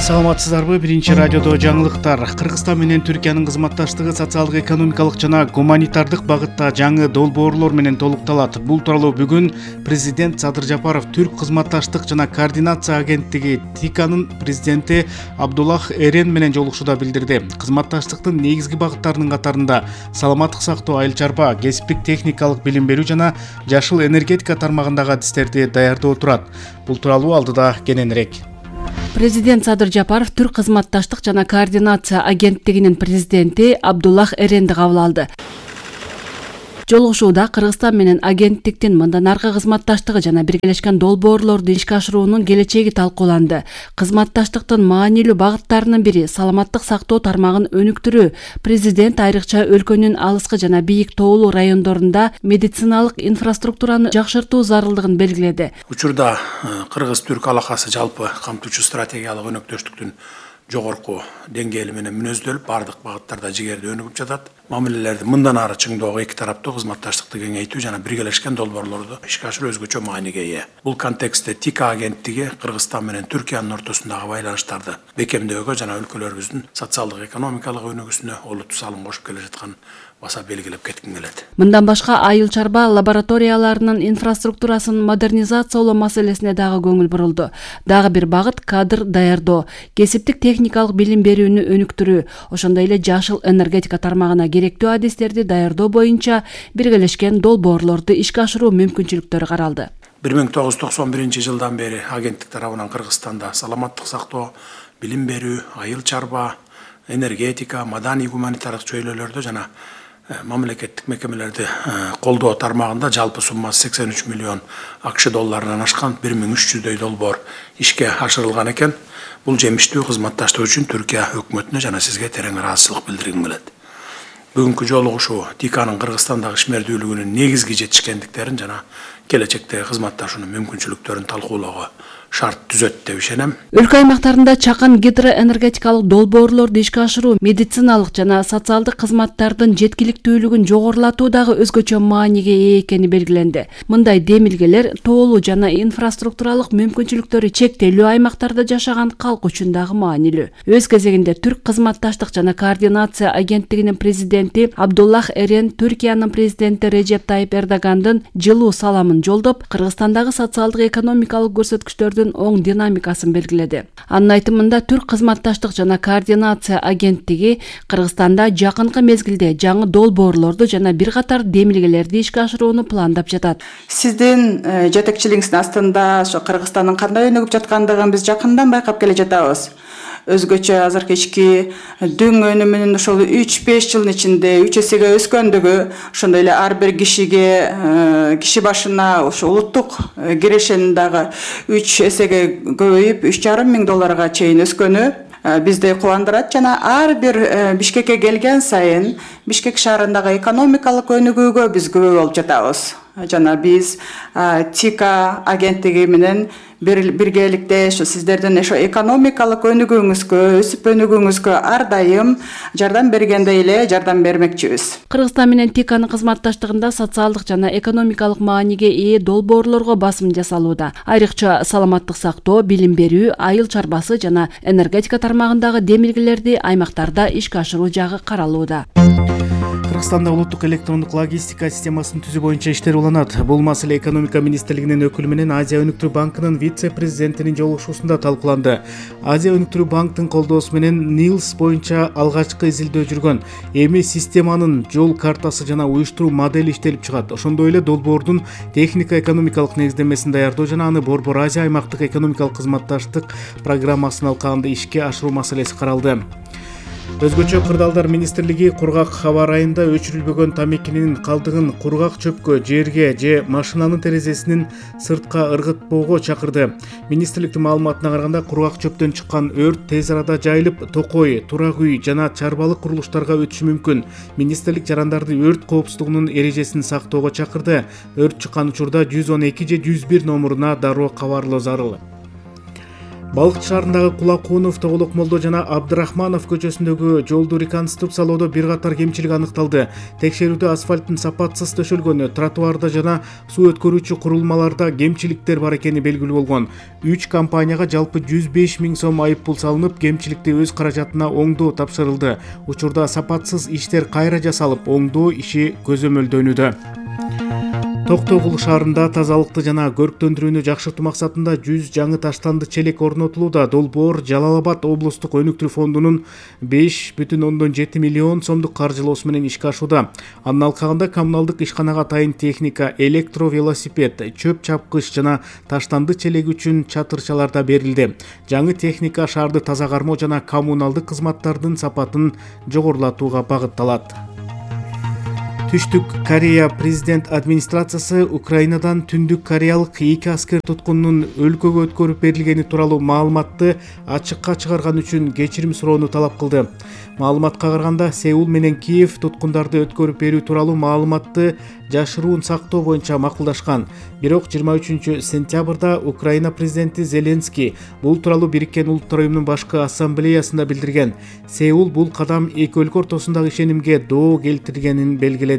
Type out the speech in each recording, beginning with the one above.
Саламатсыздарбы? Биринчи радиодо жаңылыктар. Кыргызстан менен Түркиянын кызматташтыгы социалдык, экономикалык жана гуманитардык багытта жаңы долбоорлор менен толукталат. Бул тууралуу бүгүн президент Садыр Жапаров Түрк кызматташтык жана координация агенттиги ТИКАнын президенти Абдуллах Эрен менен жолугушууда билдирди. Кызматташтыктын негизги багыттарынын катарында саламаттык сактоо, айыл чарба, кесиптик техникалык билим берүү жана жашыл энергетика тармагындагы адистерди даярдоо турат. Бул тууралуу алдыда кененирээк. Президент Садыр Жапаров Түрк кызматташтык жана координация агенттигинин президенти Абдуллах Эренди кабыл алды. Жолугушууда Кыргызстан менен агенттиктин мындан аркы кызматташтыгы жана биргелешкен долбоорлорду ишке ашыруунун келечеги талкууланды. Кызматташтыктын маанилүү багыттарынын бири саламаттык сактоо тармагын өнүктүрүү. Президент айрыкча өлкөнүн алыскы жана бийик тоолуу райондорунда медициналык инфраструктураны жакшыртуу зарылдыгын белгиледи. Учурда Кыргыз-Түрк алакасы жалпы камтуучу стратегиялык өнөктөштүктүн жогорку деңгээли менен мүнөздөлүп, бардык багыттарда жигерде өнүгүп жатат. Мамилелерди мындан ары чыңдоого эки тараптуу кызматташтыкты кеңейтүү жана биргелешкен долбоорлорду ишке ашыруу өзгөчө мааниге ээ. Бул контекстте ТИКА агенттиги Кыргызстан менен Түркиянын ортосундагы байланыштарды бекемдөөгө жана өлкөлөрүбүздүн социалдык, экономикалык өнүгүүсүнө олуттуу салым кошуп келе жаткан баса белгилеп кетким келет. Мындан башка айыл чарба лабораторияларынын инфраструктурасын модернизациялоо маселесине дагы көңүл бурулду. Дагы бир багыт кадр даярдоо, кесиптик техникалык билим берүүнү өнүктүрүү, ошондой эле жашыл энергетика тармагына керектүү адистерди даярдоо боюнча биргелешкен долбоорлорду ишке ашыруу мүмкүнчүлүктөрү каралды. 1991 жылдан бери агенттик тарабынан Кыргызстанда саламаттык сактоо, билим берүү, айыл чарба, энергетика, маданий гуманитардык чөйрөлөрдө жана мамлекеттик мекемелерди колдоо тармагында жалпы суммасы 83 миллион АКШ долларынан ашкан 1300дөй долбоор ишке ашырылган экен. Бул жемиштүү кызматташтык үчүн Түркия өкмөтүнө жана сизге терең ыраазычылык билдиргим келет. Бүгүнкү жолугушуу ТИКАнын Кыргызстандагы ишмердүүлүгүнүн негизги жетишкендиктерин жана келечектеги кызматташуунун мүмкүнчүлүктөрүн талкуулоого шарт түзөт деп ишенем. Өлкө аймактарында чакан гидроэнергетикалык долбоорлорду ишке ашыруу медициналык жана социалдык кызматтардын жеткиликтүүлүгүн жогорулатуу дагы өзгөчө мааниге ээ экени белгиленди. Мындай демилгелер тоолуу жана инфраструктуралык мүмкүнчүлүктөрү чектелүү аймактарда жашаган калк үчүн дагы маанилүү. Өз кезегинде Түрк кызматташтык жана координация агенттигинин президенти Абдуллах Эрен Түркиянын президенти Режеп Тайип Эрдогандын жылуу саламын жолдоп, Кыргызстандагы социалдык, экономикалык көрсөткүчтөрдүн оң динамикасын белгиледи. Анын айтымында Түрк кызматташтык жана координация агенттиги Кыргызстанда жакынкы мезгилде жаңы долбоорлорду жана бир катар демилгелерди ишке ашырууну пландап жатат. Сиздин жетекчилигиңиздин астында ошо Кыргызстандын кандай өнүгүп жаткандыгын биз жакындан байкап келе жатабыз. Өзгөчө азыркы ички дүң өнүмүнүн ошол 3-5 жылдын ичинде 3 эсеге өскөндүгү, ошондой эле ар бир киши башына ошо улуттук кирешенин дагы 3 эсеге көбөйүп 3,5 миң долларга чейин өскөнү бизди кубандырат жана ар бир Бишкекке келген сайын Бишкек шаарындагы экономикалык өнүгүүгө биз күбө болуп жатабыз. Жана биз ТИКА агенттиги менен биргеликте ошо сиздердин ошо экономикалык өнүгүүңүзгө, өсүп өнүгүүңүзгө ар дайым жардам бергендей эле жардам бермекчибиз. Кыргызстан менен ТИКАнын кызматташтыгында социалдык жана экономикалык мааниге ээ долбоорлорго басым жасалууда. Айрыкча саламаттык сактоо, билим берүү, айыл чарбасы жана энергетика тармагындагы демилгелерди аймактарда ишке ашыруу жагы каралууда. Кыргызстанда улуттук электрондук логистика системасын түзүү боюнча иштер уланат. Бул маселе экономика министрлигинин өкүлү менен Азия өнүктүрүү банкынын вице-президентинин жолугушуусунда талкууланды. Азия өнүктүрүү банктын колдоосу менен НИЛС боюнча алгачкы изилдөө жүргөн. Эми системанын жол картасы жана уюштуруу модели иштелип чыгат. Ошондой эле долбоордун техника-экономикалык негиздемесин даярдоо жана аны Борбор Азия аймактык экономикалык кызматташтык программасынын алкагында ишке ашыруу маселеси каралды. Өзгөчө кырдаалдар министрлиги кургак аба ырайында өчүрүлбөгөн тамекинин калдыгын кургак чөпкө, жерге же машинанын терезесинин сыртка ыргытпоого чакырды. Министрликтин маалыматына караганда кургак чөптөн чыккан өрт тез арада жайылып, токой, турак үй жана чарбалык курулуштарга өтүшү мүмкүн. Министрлик жарандарды өрт коопсуздугунун эрежесин сактоого чакырды. Өрт чыккан учурда 112 же 101 номуруна дароо кабарлоо зарыл. Балыкчы шаарындагы Кулакунов, Тоголок Молдо жана Абдрахманов көчөсүндөгү жолду реконструкциялоодо бир катар кемчилик аныкталды. Текшерүүдө асфальттын сапатсыз төшөлгөнү, тротуарда жана суу өткөрүүчү курулмаларда кемчиликтер бар экени белгилүү болгон. 3 компанияга жалпы 105 000 сом айып пул салынып, кемчиликти өз каражатына оңдоо тапшырылды. Учурда сапатсыз иштер кайра жасалып, оңдоо иши көзөмөлдөнүүдө. Токтогул шаарында тазалыкты жана көрктөндүрүүнү жакшыртуу максатында 100 жаңы таштанды челек орнотулууда. Долбоор Жалал Абад облустук өнүктүрүү фондунун 5,7 миллион сомдук каржылоосу менен ишке ашууда. Анын алкагында коммуналдык ишканага атайын техника, электровелосипед, чөп чапкыч жана таштанды челеги үчүн чатырчалар да берилди. Жаңы техника шаарды таза кармоо жана коммуналдык кызматтардын сапатын жогорулатууга багытталат. Түштүк Корея президент администрациясы Украинадан Түндүк Кореялык 2 аскер туткунунун өлкөгө өткөрүп берилгени тууралуу маалыматты ачыкка чыгарган үчүн кечирим суроону талап кылды. Маалыматка караганда, Сеул менен Киев туткундарды өткөрүп берүү тууралуу маалыматты жашыруун сактоо боюнча макулдашкан. Бирок 23 сентябрда Украина президенти Зеленский бул тууралуу Бириккен Улуттар уюмунун башкы ассамблеясында билдирген. Сеул бул кадам эки өлкө ортосундагы ишенимге доо келтиргенин белгиледи.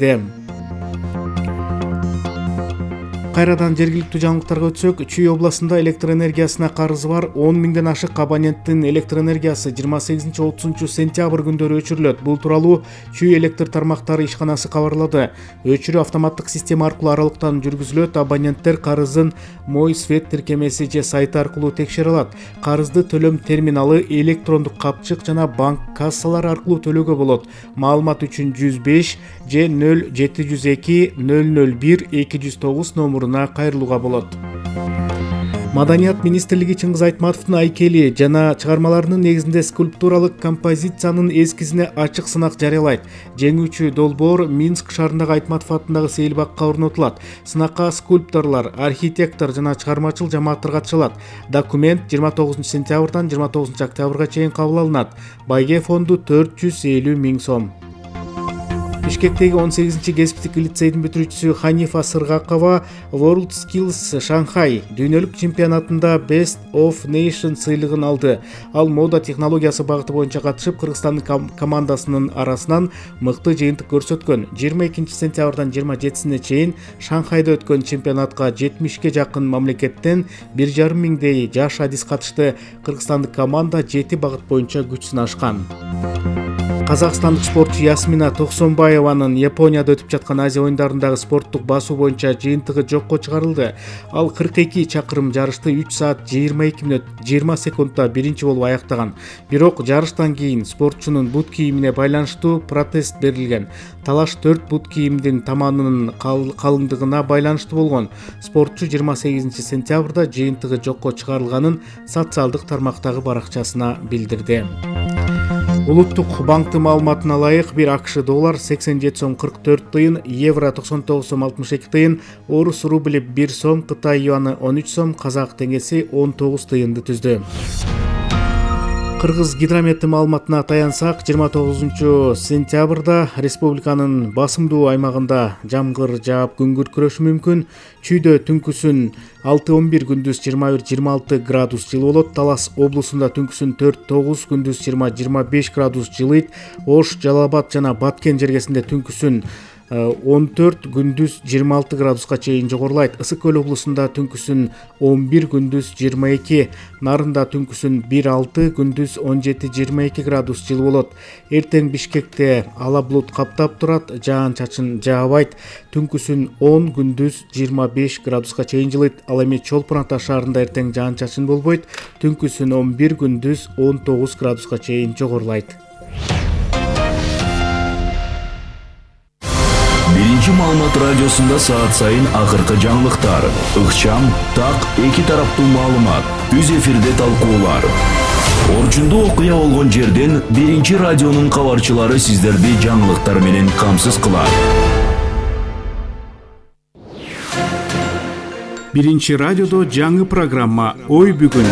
Кайрадан жергиликтүү жаңылыктарга өтсөк, Чүй областында электр энергиясына карызы бар 10 000ден ашык абоненттин электр энергиясы 28-30 сентябрь күндөрү өчүрүлөт. Бул тууралуу Чүй электр тармактары ишканасы кабарлады. Өчүрүү автоматтык система аркылуу аралыктан жүргүзүлөт. Абоненттер карызын Мой Свет тиркемеси же сайты аркылуу текшере алат. Карызды төлөм терминалы, электрондук капчык жана банк кассалары аркылуу төлөөгө болот. Маалымат үчүн 105 же 0702 001 209 номуруна кайрылууга болот. Маданият министрлиги Чыңгыз Айтматовдун айкели жана чыгармаларынын негизинде скульптуралык композициянын эскизине ачык сынак жарыялайт. Жеңүүчү долбоор Минск шаарындагы Айтматов атындагы сейилбакка орнотулат. Сынакка скульпторлор, архитектор жана чыгармачыл жамааттар катышат. Документ 29 сентябрдан 29 октябрга чейин кабыл алынат. Байге фонду 450 000 сом. Бишкектеги 18-чи кесиптик лицейдин бүтүрүүчүсү Ханифа Сыргакова World Skills Shanghai дүйнөлүк чемпионатында Best of Nation сыйлыгын алды. Ал мода технологиясы багыты боюнча катышып, Кыргызстандын командасынын арасынан мыкты жыйынтык көрсөткөн. 22 сентябрдан 27-сине чейин Шанхайда өткөн чемпионатка 70ке жакын мамлекеттен 1,5 миңдей жаш адис катышты. Кыргызстандык команда 7 багыт боюнча күч сынашкан. Казакстандык спортчу Ясмина Токсонбаеванын Японияда өтүп жаткан Азия оюндарындагы спорттук басуу боюнча жыйынтыгы жокко чыгарылды. Ал 42 чакырым жарышты 3 саат 22 мүнөт 20 секундда биринчи болуп аяктаган. Бирок жарыштан кийин спортчунун бут кийимине байланыштуу протест берилген. Талаш 4 бут кийимдин таманынын калыңдыгына байланыштуу болгон. Спортчу 28 сентябрда жыйынтыгы жокко чыгарылганын социалдык тармактагы баракчасына билдирди. Улуттук банктын маалыматына ылайык, бир АКШ доллар 87 сом 44 тыйын, евро 99 сом 62 тыйын, орус рубли 1 сом, Кытай юаны 13 сом, казак теңгеси 19 тыйынды түздү. Кыргыз гидрометтин маалыматына таянсак, 29 сентябрда республиканын басымдуу аймагында жамгыр жаап күн күркүрөшү мүмкүн. Чүйдө түнкүсүн 6-11, күндүз 21-26 градус жылы болот. Талас облусунда түнкүсүн 4-9, күндүз 20-25 градус жылыйт. Ош, Жалал Абад жана Баткен жергесинде түнкүсүн 14, күндүз 26 градуска чейин жогорулайт. Ысык көл облусунда түнкүсүн 11, күндүз 22, Нарында түнкүсүн 1-6, күндүз 17-22 градус жылы болот. Эртең Бишкекте ала булут каптап турат, жаан-чачын жаабайт. Түнкүсүн 10, күндүз 25 градуска чейин жылыйт. Ал эми Чолпон Ата шаарында эртең жаан-чачын болбойт. Түнкүсүн 11, күндүз 19 градуска чейин жогорулайт. Биринчи маалымат радиосунда саат сайын акыркы жаңылыктар, ыкчам, так, эки тараптуу маалымат, үз эфирде талкуулар. Орчундуу окуя болгон жерден биринчи радионун кабарчылары сиздерди жаңылыктар менен камсыз кылат. Биринчи радиодо жаңы программа Ой бүгүн.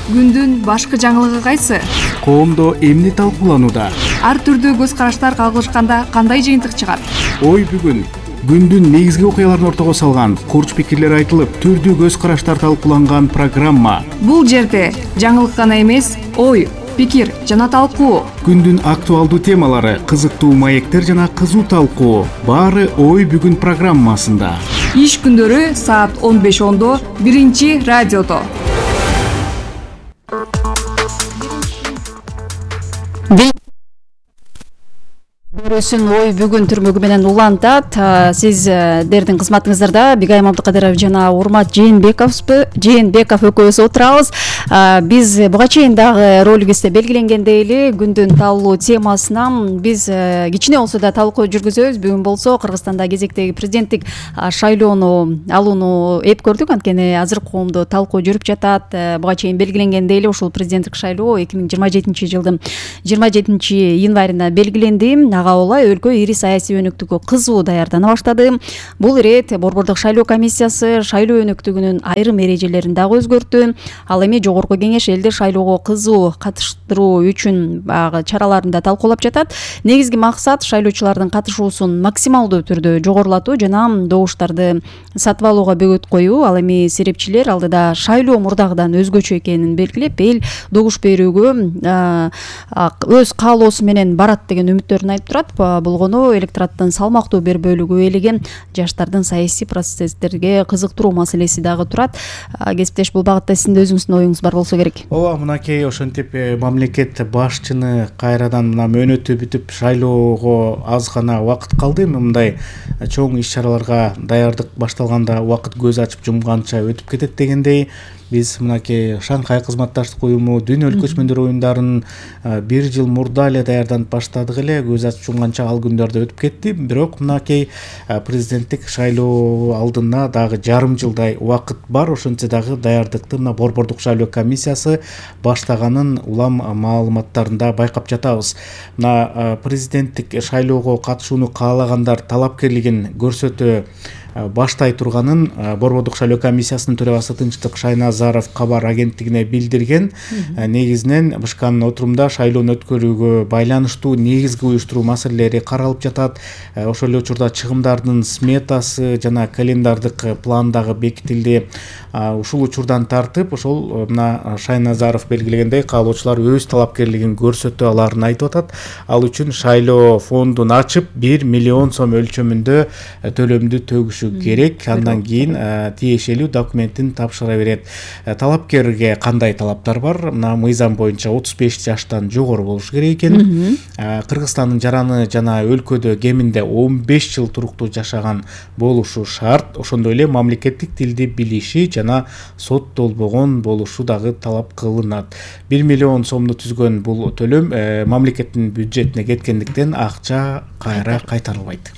Күндүн башкы жаңылыгы кайсы? Коомдо эмне талкууланууда? Ар түрдүү көз караштар кагылышканда кандай жыйынтык чыгат? Ой бүгүн күндүн негизги окуяларын ортого салган, курч пикирлер айтылып, түрдүү көз караштар талкууланган программа. Бул жерде жаңылык гана эмес, ой, пикир жана талкуу. Күндүн актуалдуу темалары, кызыктуу маектер жана кызуу талкуу. Баары ой бүгүн программасында. Иш күндөрү саат 15:10 биринчи радиодо. Көрөсүн ой бүгүн түрмөгү менен улантат. Сиздердин кызматыңыздарда Бигайым Абдыкадыров жана Урмат Жээнбеков экөөбүз отурабыз. Биз буга чейин дагы ролигибизде белгиленгендей эле күндүн талкуу темасынан биз кичине болсо да талкуу жүргүзөбүз. Бүгүн болсо Кыргызстанда кезектеги президенттик шайлоону алууну эп көрдүк. Анткени азыркы коомдо талкуу жүрүп жатат. Буга чейин белгиленгендей эле ушул президенттик шайлоо 2027-жылдын 27-январында белгиленди. Ага улай өлкө ири саясий өнүктүккө кызуу даярдана баштады. Бул ирет Борбордук шайлоо комиссиясы шайлоо өнүктүгүнүн айрым эрежелерин дагы өзгөрттү. Ал эми Жогорку Кеңеш элди шайлоого кызуу катыштыруу үчүн баягы чараларын да талкуулап жатат. Негизги максат шайлоочулардын катышуусун максималдуу түрдө жогорулатуу жана добуштарды сатып алууга бөгөт коюу. Ал эми серепчилер алдыда шайлоо мурдагыдан өзгөчө экенин белгилеп, эл добуш берүүгө өз каалоосу менен барат деген үмүттөрүн айтып турат. Болгону электораттын салмактуу бир бөлүгү элеген жаштардын саясий процесстерге кызыктыруу маселеси дагы турат. Кесиптеш, бул багытта сиздин өзүңүздүн оюңуз бар болсо керек. Ооба, мынакей ошентип мамлекет башчыны кайрадан мына мөөнөтү бүтүп шайлоого аз гана убакыт калды. Мындай чоң иш-чараларга даярдык башталганда убакыт көз ачып жумганча өтүп кетет дегендей, биз мынакей Шанхай кызматташтык уюму дүйнөлүк көчмөндөр оюндарын 1 жыл мурда эле даярданып баштадык эле. Көз ачып жумганча ал күндөрдө өтүп кетти. Бирок мынакей президенттик шайлоо алдына дагы жарым жылдай убакыт бар. Ошентсе дагы даярдыкты мына Борбордук шайлоо комиссиясы баштаганын улам маалыматтарында байкап жатабыз. Мына президенттик шайлоого катышууну каалагандар талапкерлигин көрсөтө баштай турганын Борбордук шайлоо комиссиясынын төрагасы Тынчтык Шайназаров кабар агенттигине билдирген. Негизинен бышканын отурумда шайлоону өткөрүүгө байланыштуу негизги уюштуруу маселелери каралып жатат. Ошол эле учурда чыгымдардын сметасы жана календардык план дагы бекитилди. Ушул учурдан тартып, ошол мына Шайназаров белгилегендей, каалоочулар өз талапкерлигин көрсөтө аларын айтып атат. Ал үчүн шайлоо фондун ачып 1 миллион сом өлчөмүндө төлөмдү төгүшү керек. Андан кийин тиешелүү документин тапшыра берет. Талапкерге кандай талаптар бар? Мына мыйзам боюнча 35 жаштан жогору болуш керек экен. Кыргызстандын жараны жана өлкөдө кеминде 15 жыл туруктуу жашаган болушу шарт. Ошондой эле мамлекеттик тилди билиши жана соттолбогон болушу дагы талап кылынат. 1 миллион сомду түзгөн бул төлөм мамлекеттин бюджетине кеткендиктен акча кайра кайтарылбайт.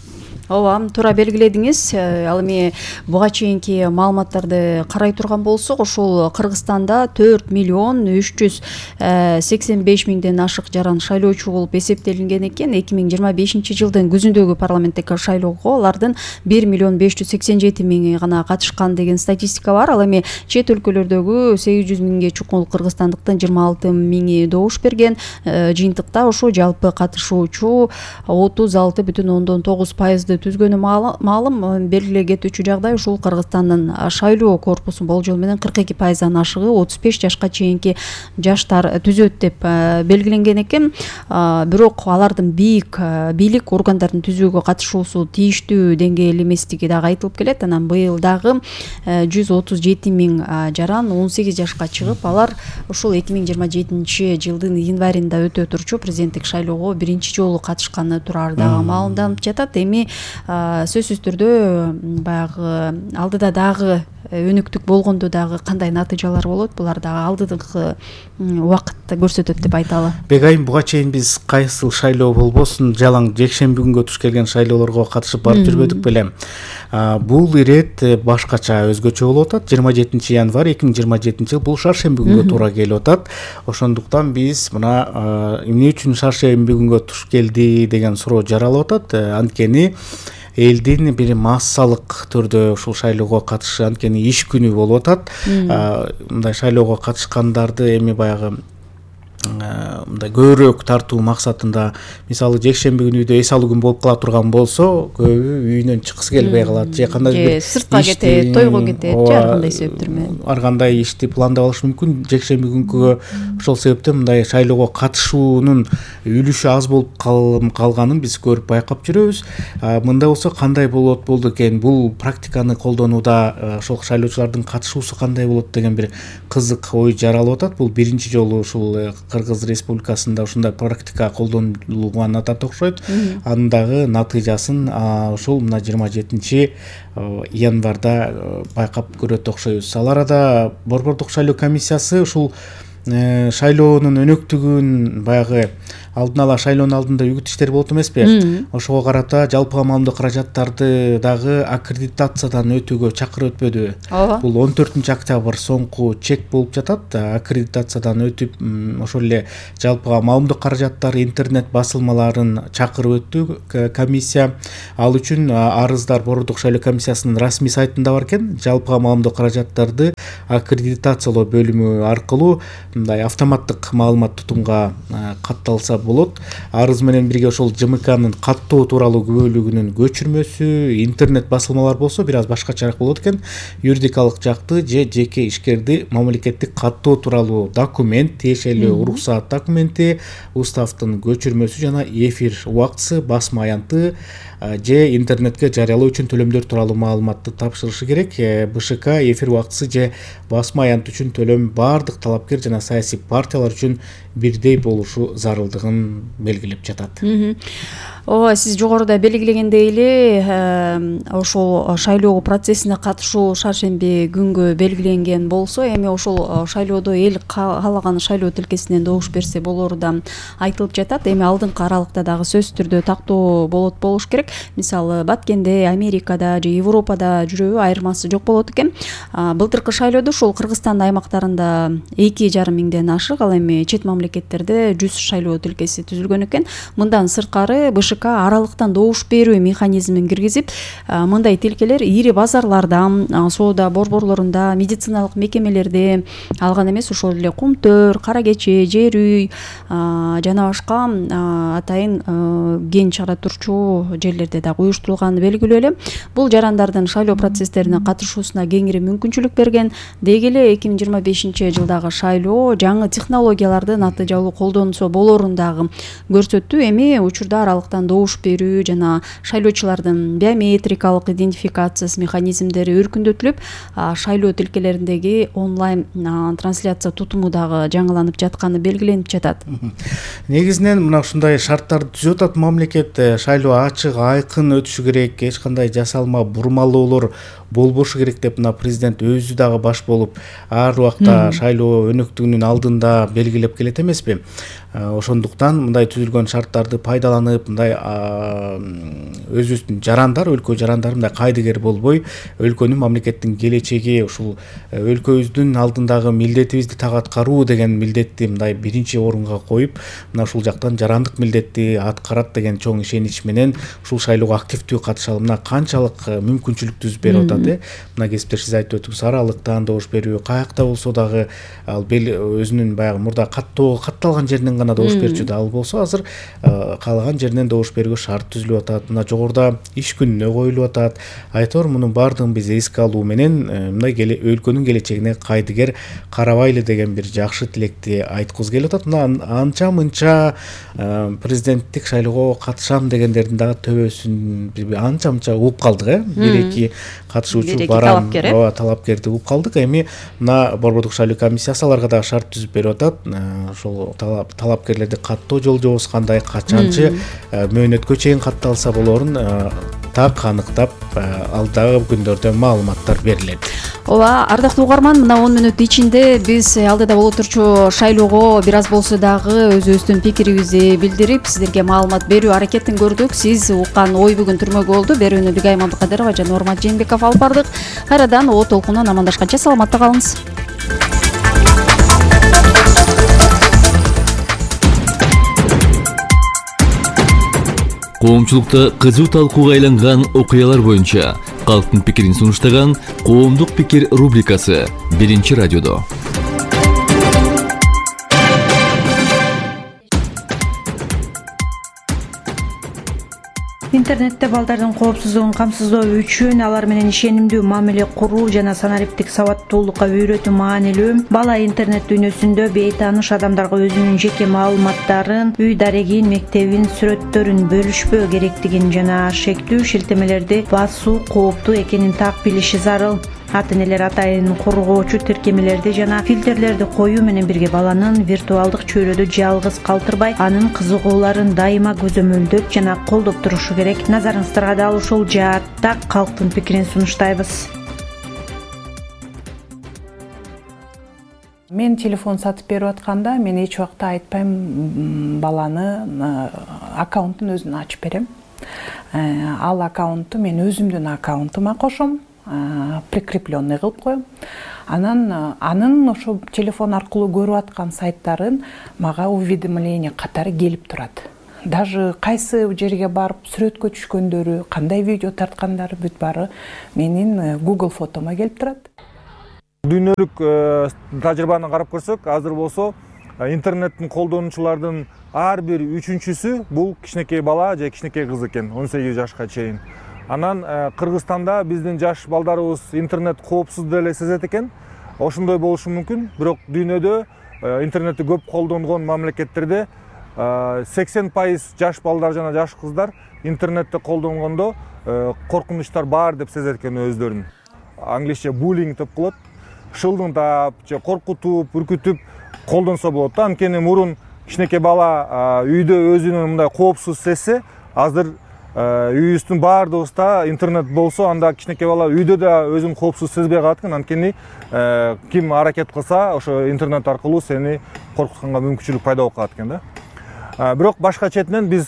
Ооба, туура белгиледиңиз. Ал эми буга чейинки маалыматтарды карай турган болсок, ошол Кыргызстанда 4 миллион 385 миңден ашык жаран шайлоочу болуп эсептелинген экен. 2025-жылдын күзүндөгү парламенттик шайлоого алардын 1 миллион 587 миңи гана катышкан деген статистика бар. Ал эми чет өлкөлөрдөгү 800 миңге чукул кыргызстандыктын 26 миңи добуш берген. Жыйынтыкта ошо жалпы катышуучу 36,9% түзгөнү маалым. Белгилей кетүүчү жагдай ушул Кыргызстандын шайлоо корпусу болжол менен 42%дан ашыгы 35 жашка чейинки жаштар түзөт деп белгиленген экен. Бирок алардын бийлик органдарын түзүүгө катышуусу тийиштүү деңгээл эместиги дагы айтылып келет. Анан быйыл дагы 137 миң жаран 18 жашка чыгып, алар ушул 2027-жылдын январында өтө турчу президенттик шайлоого биринчи жолу катышканы турары дагы маалымданып жатат. Эми сөзсүз түрдө баягы алдыда дагы өнүктүк болгондо дагы кандай натыйжалар болот, булар дагы алдыдагы убакытта көрсөтөт деп айталы. Бегайым, буга чейин биз кайсыл шайлоо болбосун жалаң жекшемби күнгө туш келген шайлоолорго катышып барып жүрбөдүк беле. Бул ирет башкача өзгөчө болуп атат. 27 январь 2027 жыл бул шаршемби күнгө туура келип атат. Ошондуктан биз мына эмне үчүн шаршемби күнгө туш келди деген суроо жаралып атат. Анткени элдин бир массалык түрдө ушул шайлоого катышы, анткени иш күнү болуп атат. Мындай шайлоого катышкандарды эми баягы мындай көбүрөөк тартуу максатында, мисалы жекшемби күнү үйдө эс алуу күн болуп кала турган болсо, көбү үйүнөн чыккысы келбей калат же кандайдыр бир сыртка кетет, тойго кетет же ар кандай себептер менен ар кандай ишти пландап алышы мүмкүн. Жекшемби күнкү ошол себептен мындай шайлоого катышуунун үлүшү аз болуп калганын биз көрүп байкап жүрөбүз. Мындай болсо кандай болду экен, бул практиканы колдонууда ошол шайлоочулардын катышуусу кандай болот деген бир кызык ой жаралып атат. Бул биринчи жолу ушул Кыргыз Республикасында ушундай практика колдонулганына да окшойт. Анын дагы натыйжасын ушул мына 27 январда байкап көрөт окшойбуз. Ал арада Борбордук шайлоо комиссиясы ушул шайлоонун өнөктүгүн баягы алдын ала шайлоонун алдында үгүт иштер болот эмеспи? Ошого карата жалпыга маалымдоо каражаттарды дагы аккредитациядан өтүүгө чакырып өтпөдүбү? Ооба. Бул 14 октябрь соңку чек болуп жатат. Аккредитациядан өтүп, ошол эле жалпыга маалымдоо каражаттары, интернет басылмаларын чакырып өттү комиссия. Ал үчүн арыздар Борбордук шайлоо комиссиясынын расмий сайтында бар экен. Жалпыга маалымдоо каражаттарды аккредитациялоо бөлүмү аркылуу мындай автоматтык маалымат тутумга катталса болот. Арыз менен бирге ошол ЖМКнын каттоо тууралуу бөлүгүнүн көчүрмөсү, интернет басылмалар болсо бир аз башкачараак болот экен. Юридикалык жакты же жеке ишкерди мамлекеттик каттоо тууралуу документ, тиешелүү уруксаат документи, уставдын көчүрмөсү жана эфир убактысы, басма аянты же интернетке жарыялоо үчүн төлөмдөр тууралуу маалыматты тапшырышы керек. БШК эфир убактысы же басма аянт үчүн төлөм баардык талапкер жана саясий партиялар үчүн бирдей болушу зарылдыгын белгилеп жатат. Ооба, сиз жогоруда белгилегендей эле ошол шайлоо процессине катышуу шаршемби күнгө белгиленген болсо, эми ошол шайлоодо эл каалаган шайлоо тилкесинен добуш берсе болору да айтылып жатат. Эми алдыңкы аралыкта дагы сөзсүз түрдө тактоо болуш керек. Мисалы Баткенде, Америкада же Европада жүрөбү, айырмасы жок болот экен. Былтыркы шайлоодо ушул Кыргызстан аймактарында 2,5 миңден ашык, ал эми чет мамлекеттерде 100 шайлоо тилкеси түзүлгөн экен. Мындан сырткары БШК аралыктан добуш берүү механизмин киргизип, мындай тилкелер ири базарларда, соода борборлорунда, медициналык мекемелерде, алган эмес ошол эле Кумтөр, Кара Кечи, Жер үй жана башка атайын кен чыгара турчу жерлерде дагы уюштурулганы белгилүү эле. Бул жарандардын шайлоо процесстерине катышуусуна кеңири мүмкүнчүлүк берген. Деги эле 2025 жылдагы шайлоо жаңы технологияларды натыйжалуу колдонсо болорун дагы көрсөттү. Эми учурда аралыктан добуш берүү жана шайлоочулардын биометрикалык идентификациясы механизмдери өркүндөтүлүп, шайлоо тилкелериндеги онлайн трансляция тутуму дагы жаңыланып жатканы белгиленип жатат. Негизинен мына ушундай шарттарды түзүп атат мамлекет. Шайлоо ачык, айкын өтүшү керек, эч кандай жасалма бурмалоолор болбошу керек деп мына президент өзү дагы баш болуп ар убакта шайлоо өнөктүгүнүн алдында белгилеп келет эмеспи? Ошондуктан мындай түзүлгөн шарттарды пайдаланып, мындай өзүбүздүн жарандар, өлкө жарандары мындай кайдыгер болбой, өлкөнүн, мамлекеттин келечеги, ушул өлкөбүздүн алдындагы милдетибизди так аткаруу деген милдетти мындай биринчи орунга коюп, мына ушул жактан жарандык милдетти аткарат деген чоң ишенич менен ушул шайлоого активдүү катышалы. Мына канчалык мүмкүнчүлүк түзүп берип атат. Мына кесиптеш сиз айтып өттүңүз, аралыктан добуш берүү, каякта болсо дагы ал өзүнүн баягы мурда катталган жеринен гана добуш берчү да, ал болсо азыр каалаган жеринен добуш берүүгө шарт түзүлүп атат. Мына жогоруда иш күнүнө коюлуп атат. Айтор мунун баардыгын биз эске алуу менен мындай өлкөнүн келечегине кайдыгер карабайлы деген бир жакшы тилекти айткыбыз келип атат. Мына анча мынча президенттик шайлоого катышам дегендердин дагы төбөсүн анча угуп калдык. Бир-эки катышуучу барам, талапкерди угуп калдык. Эми мына Борбордук шайлоо комиссиясы аларга дагы шарт түзүп берип атат. Ошол талапкерлерди каттоо жолжобосу кандай, качанчы мөөнөткө чейин катталса болорун так аныктап, алдагы күндөрдө маалыматтар берилет. Ооба, ардактуу угарман, мына 10 мүнөт ичинде биз алдыда боло турчу шайлоого бир аз болсо дагы өзүбүздүн пикирибизди билдирип, сиздерге маалымат берүү аракетин көрдүк. Сиз уккан ой бүгүн түрмөгө болду. Берүүнү Бигай Мамдыкадырова жана Нурмат Жээнбеков алып бардык. Кайрадан о толкундан амандашканча саламатта калыңыз. Коомчулукта кызуу талкууга айланган окуялар боюнча калктын пикирин сунуштаган Коомдук пикир рубрикасы биринчи радиодо. Интернетте балдардын коопсуздугун камсыздоо үчүн алар менен ишенимдүү мамиле куруу жана санариптик сабаттуулукка үйрөтүү маанилүү. Бала интернет дүйнөсүндө бейтааныш адамдарга өзүнүн жеке маалыматтарын, үй дарегин, мектебин, сүрөттөрүн бөлүшпөө керектигин жана шектүү шилтемелерди басуу кооптуу экенин так билиши зарыл. Ата-энелер атайын коргоочу тиркемелерди жана фильтрлерди коюу менен бирге баланын виртуалдык чөйрөдө жалгыз калтырбай, анын кызыгууларын дайыма көзөмөлдөп жана колдоп турушу керек. Назарыңыздарга дал ушул жаатта калктын пикирин сунуштайбыз. Мен телефон сатып берип атканда мен эч убакта айтпайм баланы аккаунтун өзүн ачып берем. Ал аккаунтту мен өзүмдүн аккаунтума кошом, прикрепленный кылып коем. Анын ошо телефон аркылуу көрүп аткан сайттарын мага уведомление катары келип турат. Даже кайсы жерге барып сүрөткө түшкөндөрү, кандай видео тарткандары бүт баары менин Google фотома келип турат. Дүйнөлүк тажрыйбаны карап көрсөк, азыр болсо интернеттин колдонуучулардын ар бир үчүнчүсү бул кичинекей бала же кичинекей кыз экен, 18 жашка чейин. Анан Кыргызстанда биздин жаш балдарыбыз интернет коопсуз деп эле сезет экен. Ошондой болушу мүмкүн, бирок дүйнөдө интернетти көп колдонгон мамлекеттерде 80% жаш балдар жана жаш кыздар интернетти колдонгондо коркунучтар бар деп сезет экен өздөрүн. Англисче буллинг деп коет. Шылдыңдап же коркутуп, үркүтүп колдонсо болот да. Анткени мурун кичинекей бала үйдө өзүнүн мындай коопсуз сезсе, азыр үйүбүздүн баардыгыбызда интернет болсо, анда кичинекей бала үйдө да өзүн коопсуз сезбей калат экен. Анткени ким аракет кылса, ошо интернет аркылуу сени коркутканга мүмкүнчүлүк пайда болуп калат экен да. Бирок башка четинен биз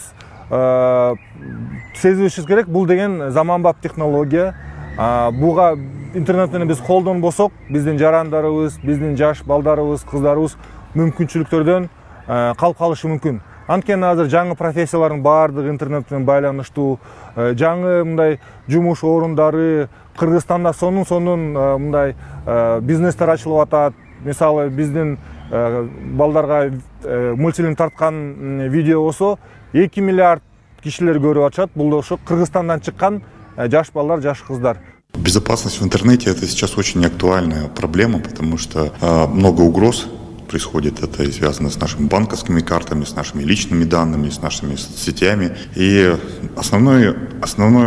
сезибишибиз керек, бул деген заманбап технология. Буга интернет менен биз колдонбосок, биздин жарандарыбыз, биздин жаш балдарыбыз, кыздарыбыз мүмкүнчүлүктөрдөн калып калышы мүмкүн. Анткени азыр жаңы профессиялардын баардыгы интернет менен байланыштуу, жаңы мындай жумуш орундары, Кыргызстанда сонун мындай бизнестер ачылып атат. Мисалы биздин балдарга мультфильм тарткан видео болсо 2 миллиард кишилер көрүп атышат. Бул ошо Кыргызстандан чыккан жаш балдар, жаш кыздар. Безопасность в интернете — это сейчас очень актуальная проблема, потому что много угроз происходит. Это и связано с нашими банковскими картами, с нашими личными данными, с нашими соцсетями. И основной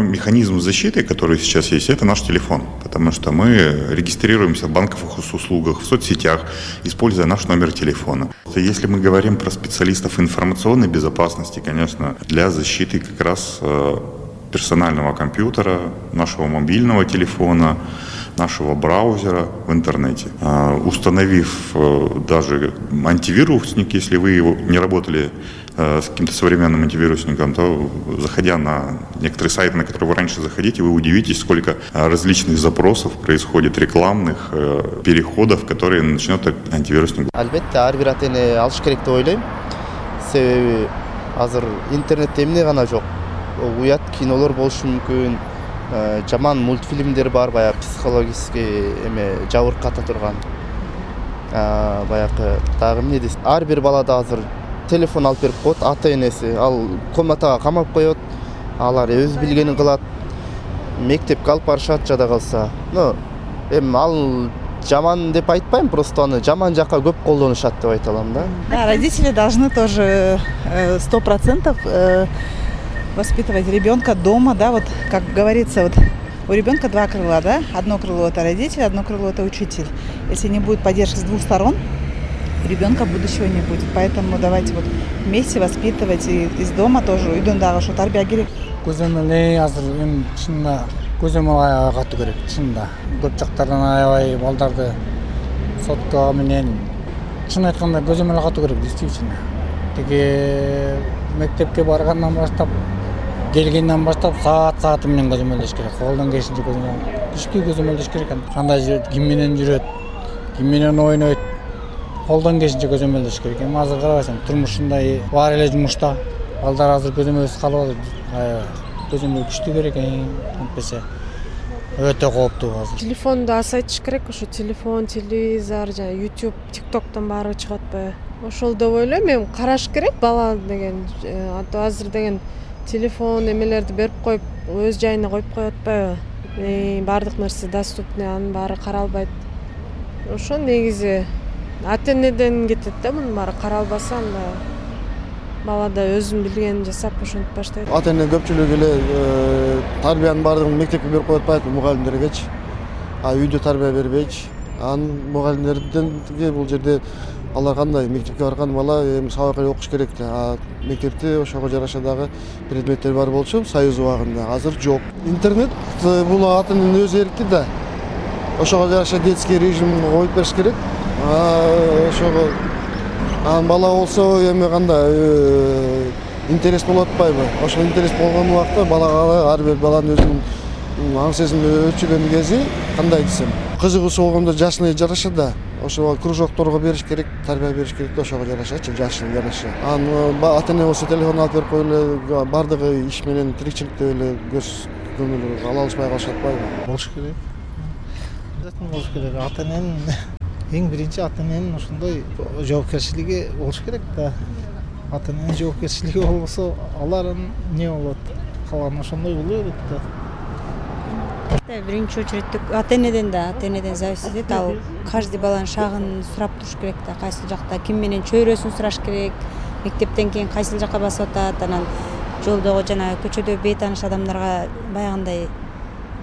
механизм защиты, который сейчас есть, это наш телефон. Потому что мы регистрируемся в банковых услугах, в соцсетях, используя наш номер телефона. Если мы говорим про специалистов информационной безопасности, конечно, для защиты как раз персонального компьютера, нашего мобильного телефона, нашего браузера в интернете. Установив даже антивирусник, если вы не работали с каким-то современным антивирусником, то, заходя на некоторые сайты, на которые вы раньше заходите, вы удивитесь, сколько различных запросов происходит, рекламных переходов, которые начнет антивирусник. Албетте, ар бир ата-эне алыш керек деп ойлойм. Себеби азыр интернетте эмне гана жок. Уят кинолор болушу мүмкүн, жаман мультфильмдер бар, баягы психологический жабырката турган. Баягы дагы эмне дейсиз? Ар бир балада азыр телефон алып берип коет, ата-энеси ал комнатага камап коет, алар өз билгенин кылат, мектепке алып барышат жада калса. Ал жаман деп айтпайм, просто аны жаман жакка көп колдонушат деп айта алам да. Да, родители должны тоже 100% воспитывать ребенка дома, да, вот как говорится, вот у ребенка два крыла, да, одно крыло это родитель, одно крыло это учитель. Если не будет поддержки с двух сторон, у ребенка будущего не будет. Поэтому давайте вот вместе воспитывать и из дома тоже үйдөн что тарбия керек. Көзөмөл азыр эми чынында көзөмөл агатуу керек, чынында. Көп жактардан аябай балдарды сотко менен чын айтканда көзөмөл агатуу керек, действительно. Теге мектепке баргандан баштап, келгенден баштап саат менен көзөмөлдөш керек. Колдон келишинче түшкү көзөмөлдөш керек. Кандай ким менен жүрөт, ким менен ойнойт, колдон келишинче көзөмөлдөш керек. Эми азыр карабайсың, турмушундай бар эле жумушта. Балдар азыр көзөмөлсүз калып атат. Көзөмөл күчтүү керек, антпесе өтө кооптуу азыр. Телефонду азайтыш керек, ошо телефон, телевизор, жана YouTube, TikToктон баары чыгып атпайбы? Ошол деп ойлойм, эми караш керек бала деген. Азыр деген телефон эмелерди берип коюп өз жайына коюп коюп атпайбы? Баардык нерсе доступный, анын баары каралбайт. Ошо негизи ата энеден кетет да, мунун баары каралбаса, анда бала да өзүн билгенин жасап ошентип баштайт. Ата эне көпчүлүгү эле тарбиянын баардыгын мектепке берип коюп атпайбы, мугалимдергечи. Үйдө тарбия бербейчи. Анын мугалимдерден бул жерде алар кандай мектепке барган бала эми сабак эле окуш керек да. Мектепте ошого жараша дагы предметтер бар болчу союз убагында. Азыр жок. Интернет бул ата эненин өз эрки да. Ошого жараша детский режим коюп бериш керек. Ошого бала болсо эми кандай интерес болуп атпайбы? Ошо интерес болгон убакта балага ар бир баланын өзүнүн аң сезими өчүгөн кези кандай десем, кызыгуусу болгондо жашына жараша да. Ошо кружокторго бериш керек, тарбия бериш керек да, ошого жарашачы, жашына жараша. Ата эне болсо телефон алып берип коюп эле баардыгы иш менен тиричиликте эле көз көңүл ала алышпай калышат атпайбы? Болуш керек. Обязательно болуш керек. Ата эненин эң биринчи ата эненин ошондой жоопкерчилиги болуш керек да. Ата эненин жоопкерчилиги болбосо алар эмне болот? Калган ошондой боло берет да. Биринчи очередь ата энеден зависит этет. Ал каждый баланын шагын сурап туруш керек да, кайсыл жакта ким менен чөйрөсүн сураш керек, мектептен кийин кайсыл жакка басып атат, анан жолдогу жана көчөдө бейтааныш адамдарга баягындай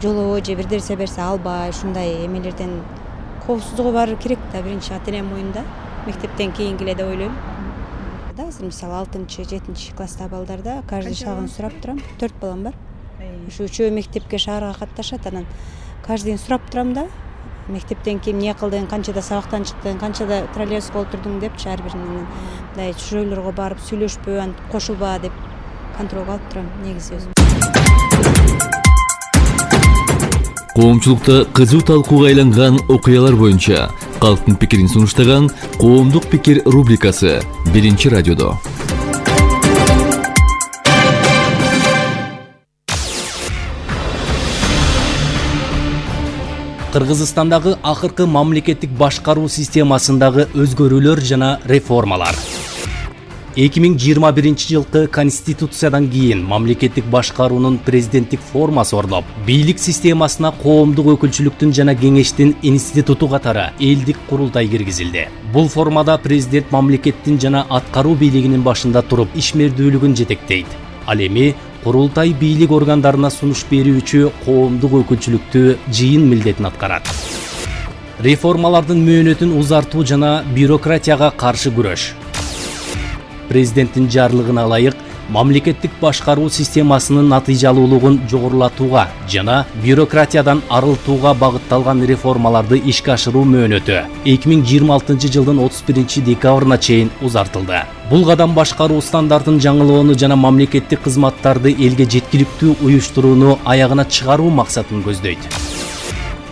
жолобой же бир нерсе берсе албай, ушундай эмелерден коопсуздугу бар керек да, биринчи ата эненин моюнда. Мектептен кийинки эле деп ойлойм. Азыр мисалы 6-7 класстагы балдарда каждый шагын сурап турам. 4 балам бар. Ушу үчөө мектепке шаарга катташат, анан каждыйын сурап турам да. Мектептен кийин эмне кылдың, канчада сабактан чыктың, канчада троллейбуска отурдуң депчи ар биринин мындай чүжөөлөргө барып сүйлөшпө, антип кошулба деп контролго алып турам негизи өзүм. Коомчулукта кызуу талкууга айланган окуялар боюнча калктын пикирин сунуштаган Коомдук пикир рубрикасы 1-радиодо. Кыргызстандагы акыркы мамлекеттик башкаруу системасындагы өзгөрүүлөр жана реформалар. 2021-жылкы конституциядан кийин мамлекеттик башкаруунун президенттик формасы орноп, бийлик системасына коомдук өкүлчүлүктүн жана кеңештин институту катары элдик курултай киргизилди. Бул формада президент мамлекеттин жана аткаруу бийлигинин башында туруп ишмердүүлүгүн жетектейт. Ал эми курултай бийлик органдарына сунуш берүүчү коомдук өкүлчүлүктү жыйын милдетин аткарат. Реформалардын мөөнөтүн узартуу жана бюрократияга каршы күрөш. Президенттин жарлыгына ылайык мамлекеттик башкаруу системасынын натыйжалуулугун жогорулатууга жана бюрократиядан арылтууга багытталган реформаларды ишке ашыруу мөөнөтү 2026-жылдын 31-декабрына чейин узартылды. Бул кадам башкаруу стандартын жаңылоону жана мамлекеттик кызматтарды элге жеткиликтүү уюштурууну аягына чыгаруу максатын көздөйт.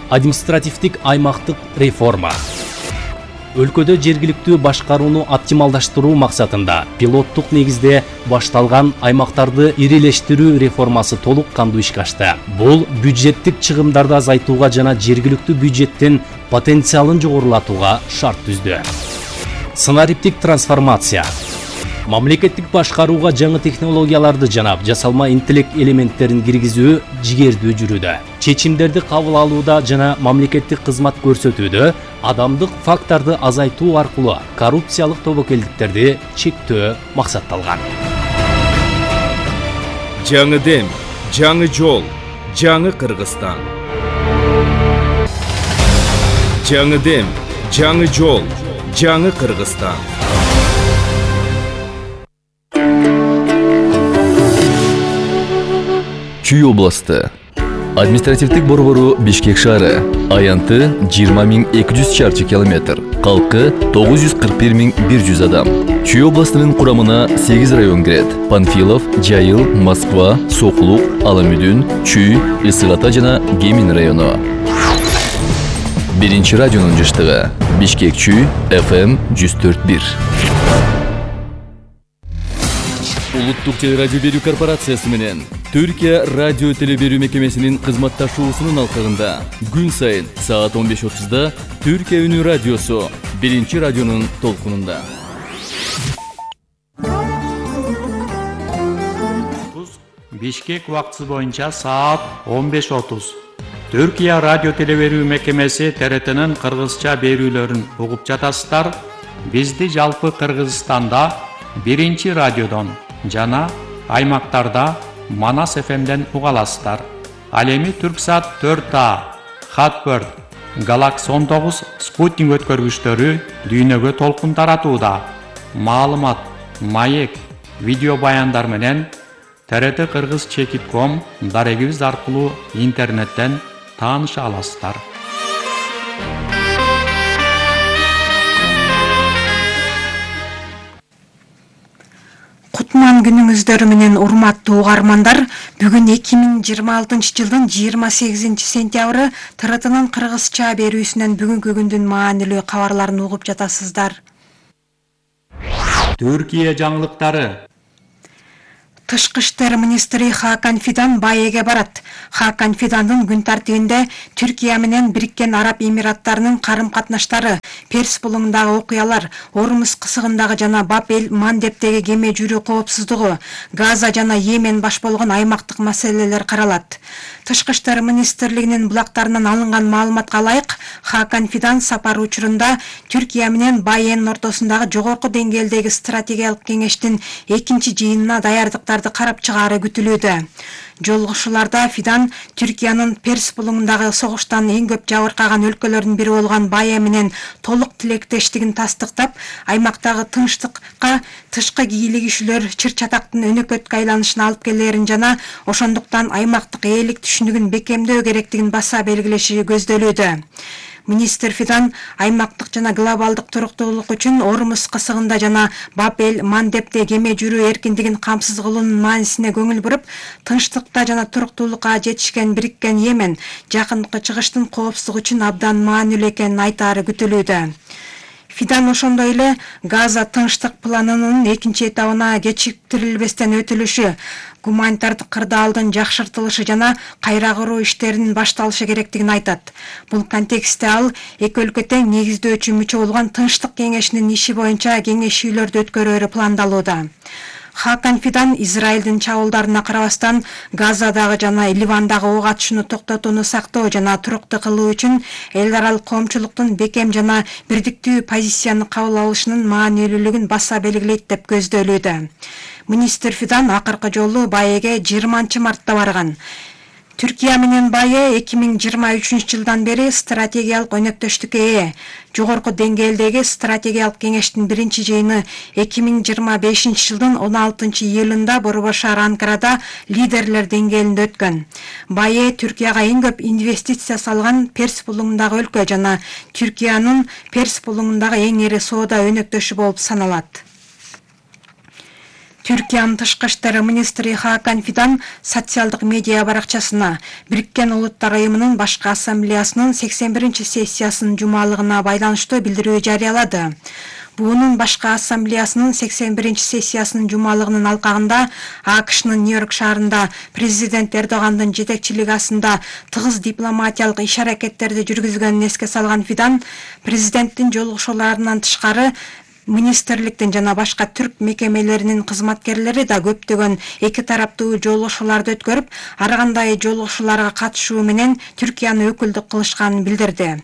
Административдик аймактык реформа. Өлкөдө жергиликтүү башкарууну оптималдаштыруу максатында пилоттук негизде башталган аймактарды ирилештирүү реформасы толук кандуу ишке ашты. Бул бюджеттик чыгымдарды азайтууга жана жергиликтүү бюджеттин потенциалын жогорулатууга шарт түздү. Санариптик трансформация. Мамлекеттик башкарууга жаңы технологияларды жана жасалма интеллект элементтерин киргизүү жигердүү жүрүүдө. Чечимдерди кабыл алууда жана мамлекеттик кызмат көрсөтүүдө адамдык факторду азайтуу аркылуу коррупциялык тобокелдиктерди чектөө максатталган. Жаңы дем, жаңы жол, жаңы Кыргызстан. Жаңы дем, жаңы жол, жаңы Кыргызстан. Чүй областы. Административдик борбору Бишкек шаары. Аянты 20.200 чарчы километр. Калкы 941.100 адам. Чүй областынын курамына 8 район кирет. Панфилов, Жайыл, Москва, Соклук, Аламүдүн, Чүй, Ысык Ата жана Гемин району. 1-радионун жыштыгы. Бишкек Чүй, FM 104.1. Улуттук телерадио берүү корпорациясы менен Түркия радио телеберүү мекемесинин кызматташуусунун алкагында күн сайын саат 15:30 Түркия үнү радиосу 1-радионун толкунунда. Бишкек убактысы боюнча саат 15:30. Түркия радио телеберүү мекемеси ТРТнын кыргызча берүүлөрүн угуп жатасыздар. Бизди жалпы Кыргызстанда 1 радиодон жана аймактарда Манас ФМден уга аласыздар. Ал эми Түрксат 4А, Хатбird, Galaxy 19 спутник өткөргүчтөрү дүйнөгө толкун таратууда. Маалымат, маек, видео баяндар менен TRT Кыргыз Чекит.com дарегибиз аркылуу интернеттен тааныша аласыздар. Кутман күнүңүздөр менен урматтуу угармандар, бүгүн 2026 жылдын 28 сентябры ТРТнын кыргызча берүүсүнөн бүгүнкү күндүн маанилүү кабарларын угуп жатасыздар. Түркия жаңылыктары. Тышкы иштер министри Хакан Фидан Баеге барат. Хакан Фидандын күн тартибинде Түркия менен Бириккен Араб Эмираттарынын карым-катнаштары, Перс булуңундагы окуялар, Ормуз кысыгындагы жана Баб-эль-Мандебдеги кеме жүрүү коопсуздугу, Газа жана Йемен баш болгон аймактык маселелер каралат. Тышкы иштер министрлигинин булактарынан алынган маалыматка ылайык, Хакан Фидан сапар учурунда Түркия менен Баенин ортосундагы жогорку деңгээлдеги стратегиялык кеңештин 2-чи жыйынына даярдыктарды карап чыгаары күтүлүүдө. Жолугушууларда Фидан Түркиянын Перс булуңундагы согуштан эң көп жабыркаган өлкөлөрдүн бири болгон Бая менен толук тилектештигин тастыктап, аймактагы тынчтыкка тышкы кийлигишүүлөр чыр-чатактын өнөкөткө айланышына алып келерин жана ошондуктан аймактык ээлик түшүнүгүн бекемдөө керектигин баса белгилеши көздөлүүдө. Министр Фидан аймактык жана глобалдык туруктуулук үчүн Ормуз кысыгында жана Баб-эль-Мандебде кеме жүрүү эркиндигин камсыз кылуунун маанисине көңүл буруп, тынчтыкта жана туруктуулукка жетишкен Бириккен Йемен жакынкы чыгыштын коопсуздугу үчүн абдан маанилүү экенин айтаары күтүлүүдө. Фидан ошондой эле Газа тынчтык планынын 2-чи этабына кечиктирилбестен өтүлүшү, гуманитардык кырдаалдын жакшыртылышы жана кайра куруу иштеринин башталышы керектигин айтат. Бул контекстте ал эки өлкө тең негиздөөчү мүчө болгон Тынчтык кеңешинин иши боюнча кеңешүүлөрдү өткөрөөрү пландалууда. Хакан Фидан Израилдин чабуулдарына карабастан Газадагы жана Ливандагы ок атышууну токтотууну сактоо жана туруктуу кылуу үчүн эл аралык коомчулуктун бекем жана бирдиктүү позицияны кабыл алышынын маанилүүлүгүн баса белгилейт деп көздөлүүдө. Министр Фидан акыркы жолу Баеге 20 мартта барган. Түркия менен Бае 2023 жылдан бери стратегиялык өнөктөштүккө ээ. Жогорку деңгээлдеги стратегиялык кеңештин 1-чи жыйыны 2025 жылдын 16 июлунда Борбошаар Анкарада лидерлер деңгээлинде өткөн. Бае Түркияга эң көп инвестиция салган Перс булуңундагы өлкө жана Түркиянын Перс булуңундагы эң ири соода өнөктөшү болуп саналат. Түркиянын тышкы иштер министри Хакан Фидан социалдык медиа баракчасына Бириккен Улуттар Уюмунун башкы ассамблеясынын 81-чи сессиясынын жумалыгына байланыштуу билдирүү жарыялады. Буунун башкы ассамблеясынын 81-чи сессиясынын жумалыгынын алкагында АКШнын Нью-Йорк шаарында президент Эрдогандын жетекчилиги астында тыгыз дипломатиялык иш-аракеттерди жүргүзгөнүн эске салган Фидан президенттин жолугушууларынан тышкары министрликтин жана башка түрк мекемелеринин кызматкерлери да көптөгөн эки тараптуу жолугушууларды өткөрүп, ар кандай жолугушууларга катышуу менен Түркияны өкүлдүк кылышканын билдирди.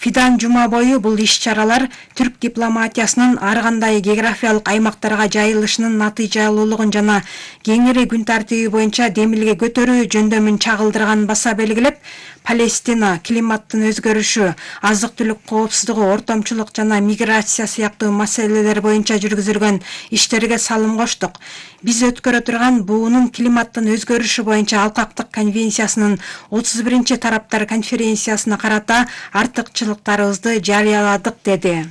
Фидан жума бою бул иш-чаралар түрк дипломатиясынын ар кандай географиялык аймактарга жайылышынын натыйжалуулугун жана кеңири күн тартиби боюнча демилге көтөрүү жөндөмүн чагылдырганын баса белгилеп, Палестина, климаттын өзгөрүшү, азык-түлүк коопсуздугу, ортомчулук жана миграция сыяктуу маселелер боюнча жүргүзүлгөн иштерге салым коштук. Биз өткөрө турган буунун климаттын өзгөрүшү боюнча алкактык конвенциясынын 31-чи тараптар конференциясына карата артыкчылыктарыбызды жарыяладык, деди.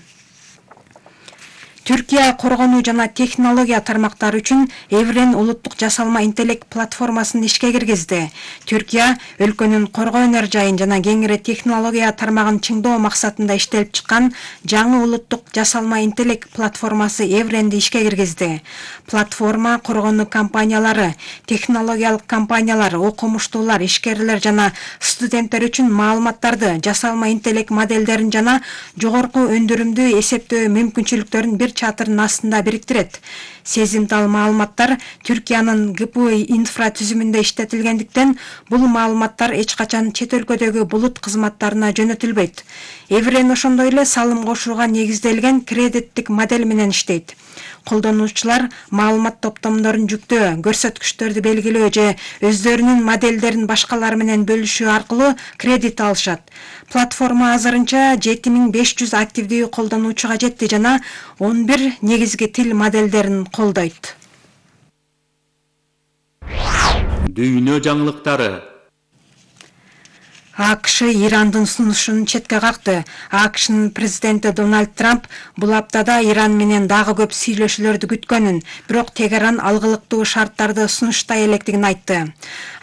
Түркия коргонуу жана технология тармактары үчүн Еврен улуттук жасалма интеллект платформасын ишке киргизди. Түркия өлкөнүн коргоо энержайын жана кеңири технология тармагын чыңдоо максатында иштелип чыккан жаңы улуттук жасалма интеллект платформасы Евренди ишке киргизди. Платформа коргонуу компаниялары, технологиялык компаниялар, окумуштуулар, ишкерлер жана студенттер үчүн маалыматтарды, жасалма интеллект модельдерин жана жогорку өндүрүмдүү эсептөө мүмкүнчүлүктөрүн бир чатырынын астында бириктирет. Сезимтал маалыматтар Түркиянын ГПУ инфратүзүмүндө иштетилгендиктен бул маалыматтар эч качан чет өлкөдөгү булут кызматтарына жөнөтүлбөйт. Еврен ошондой эле салым кошууга негизделген кредиттик модель менен иштейт. Колдонуучулар маалымат топтомдорун жүктөө, көрсөткүчтөрдү белгилөө же өздөрүнүн модельдерин башкалар менен бөлүшүү аркылуу кредит алышат. Платформа азырынча 7500 активдүү колдонуучуга жетти жана 11 негизги тил модельдерин колдойт. Дүйнө жаңылыктары. АКШ Ирандын сунушун четке какты. АКШнын президенти Дональд Трамп бул аптада Иран менен дагы көп сүйлөшүүлөрдү күткөнүн, бирок Тегеран алгылыктуу шарттарды сунуштай электигин айтты.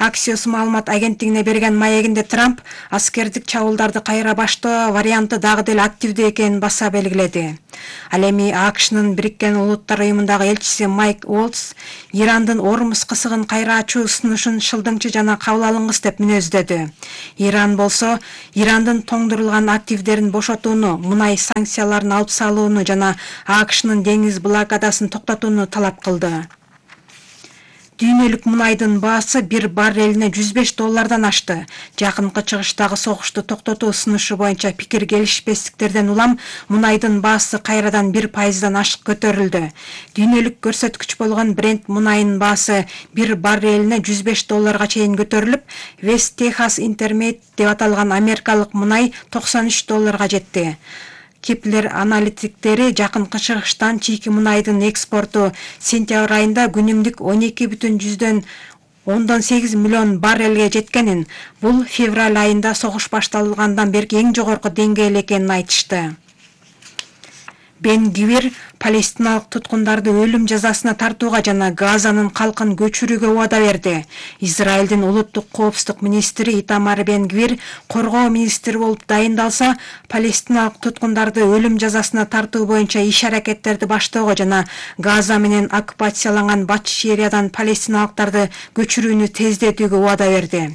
Axios маалымат агенттигине берген маегинде Трамп аскердик чабуулдарды кайра баштоо варианты дагы деле активдүү экенин баса белгиледи. Ал эми АКШнын Бириккен Улуттар уюмундагы элчиси Майк Уолтс Ирандын Ормуз кысыгын кайра ачуу сунушун шылдыңчы жана кабыл алынгыс деп мүнөздөдү. Иран болсо Ирандын тоңдурулган активдерин бошотууну, мунай санкцияларын алып салууну жана АКШнын деңиз блокадасын токтотууну талап кылды. Дүйнөлүк мунайдын баасы bir баррелине $105 ашты. Жакынкы чыгыштагы согушту токтотуу сунушу боюнча пикир келишпестиктерден улам мунайдын баасы кайрадан 1% ашык көтөрүлдү. Дүйнөлүк көрсөткүч болгон Brent мунайынын баасы bir баррелине $105 чейин көтөрүлүп, West Texas Intermediate деп аталган америкалык мунай $93 жетти. Кеплер аналитиктери жакынкы чыгыштан чийки мунайдын экспорту сентябрь айында күнүмдүк 12,18 миллион баррелге жеткенин, бул февраль айында согуш башталгандан берки эң жогорку деңгээл экенин айтышты. Бен Гвир палестиналык туткундарды өлүм жазасына тартууга жана Газанын калкын көчүрүүгө убада берди. Израилдин улуттук коопсуздук министри Итамар Бен Гвир коргоо министри болуп дайындалса, палестиналык туткундарды өлүм жазасына тартуу боюнча иш-аракеттерди баштоого жана Газа менен оккупацияланган Батыш Сириядан палестиналыктарды көчүрүүнү тездетүүгө убада берди.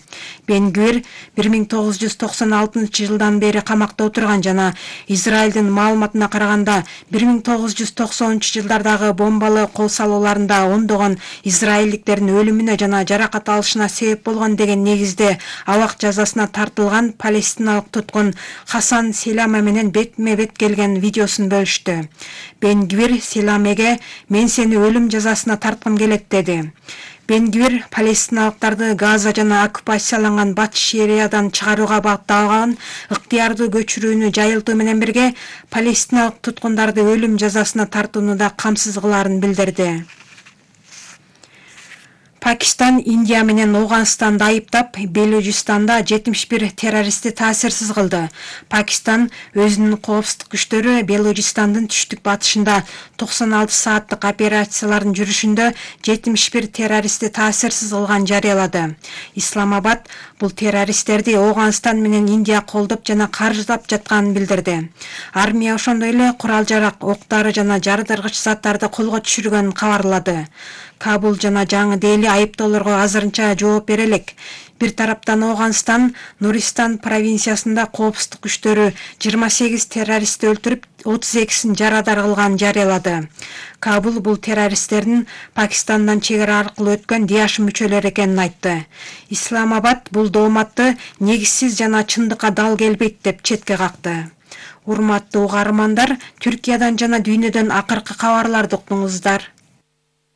Бен Гвир 1996-жылдан бери камакта отурган жана Израилдин маалыматына караганда 1990-жылдардагы бомбалуу кол салууларында ондогон израилдиктердин өлүмүнө жана жаракат алышына себеп болгон деген негизде абак жазасына тартылган палестиналык туткун Хасан Селаме менен бетме-бет келген видеосун бөлүштү. Бен Гвир Селамеге "Мен сени өлүм жазасына тарткым келет" деди. Бен Гвир палестиналыктарды Газа жана оккупацияланган Батыш Сириядан чыгарууга багытталган ыктыярдуу көчүрүүнү жайылтуу менен бирге палестиналык туткундарды өлүм жазасына тартууну да камсыз кылаарын билдирди. Пакистан Индия менен Ауганстанды айыптап, Белужистанда 71 террористти таасирсиз кылды. Пакистан өзүнүн коопсуздук күчтөрү Белужистандын түштүк батышында 96 сааттык операциялардын жүрүшүндө 71 террористти таасирсиз кылган жарыялады. Исламабад бул террористтерди Ауганстан менен Индия колдоп жана каржылап жатканын билдирди. Армия ошондой эле курал-жарак, октары жана жардыргыч заттарды колго түшүргөнүн кабарлады. Кабул жана Жаңы Дели айыптоолорго азырынча жооп бере элек. Бир тараптан Ауганстан Нуристан провинциясында коопсуздук күчтөрү 28 террористти өлтүрүп, 32-син жарадар кылганын жарыялады. Кабул бул террористтердин Пакистандан чегара аркылуу өткөн Диаш мүчөлөрү экенин айтты. Исламабад бул дооматты негизсиз жана чындыкка дал келбейт деп четке какты. Урматтуу угармандар, Түркиядан жана дүйнөдөн акыркы кабарларды уктуңуздар.